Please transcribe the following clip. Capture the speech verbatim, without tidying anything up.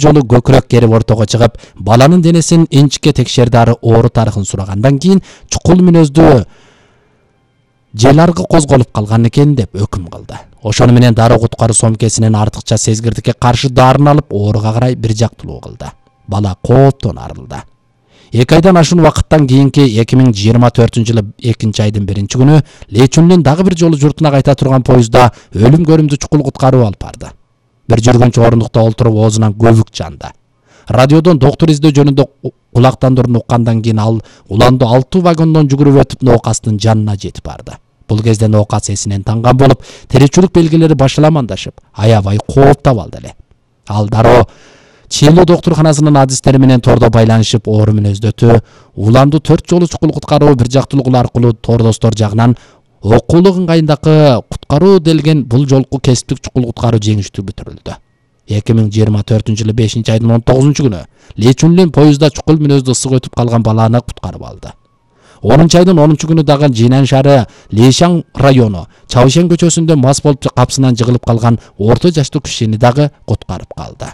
жолу көкүрөк керип ортого чыгып, баланын денесин инчикке текшерди, ары оору тарыхын сурагандан кийин чукул мүнөздүү желаргы козголуп калган экен деп өкүм кылды. Ошону менен дароо куткаруу сомкесинен артыкча сезгирдикке каршы дарын алып, ооруга карай бир жактылуу кылды. Бала кооптон арылды. эки айдан ашуун убакыттан кийинки эки миң жыйырма төртүнчү жылы экинчи айдын биринчи күнү Лечүндүн дагы бир жолу журтуна кайта турган поездда өлүм көрүмдүү чукул куткаруу алып барды. Бир жүргүнчү орундукта олтуруп оозунан көбүк жанды. Радиодон доктор издөө жөнүндө кулактандырууну уккандан кийин ал уланду алты вагондон жүгүрүп өтүп ноокастын жанына жетип барды. Бул кезде ноокас эсинен танган болуп, тиричүлүк белгилери башаламандашып, аябай кооптоп алды эле. Ал дароо Чилүү доктурканасынын адистери менен тордо байланышып, оору мүнөздөтү, уланду төрт жолу чукул куткаруу бир жактылыгы аркылуу тордостор жагынан окуулук ыңгайындагы куткаруу делген бул жолку кесиптик чукул куткаруу жеңиштүү бүтүрүлдү. эки миң жыйырма төртүнчү жылы бешинчи айдын он тогузунчу күнү Лечүндүн поездда чукул мүнөздүү ысык өтүп калган баланы куткарып алды. онунчу айдын онунчу күнү дагы Жинан шаары Лейшан району Чавшен көчөсүндө мас болуп капсынан жыгылып калган орто жаштуу кишини дагы куткарып калды.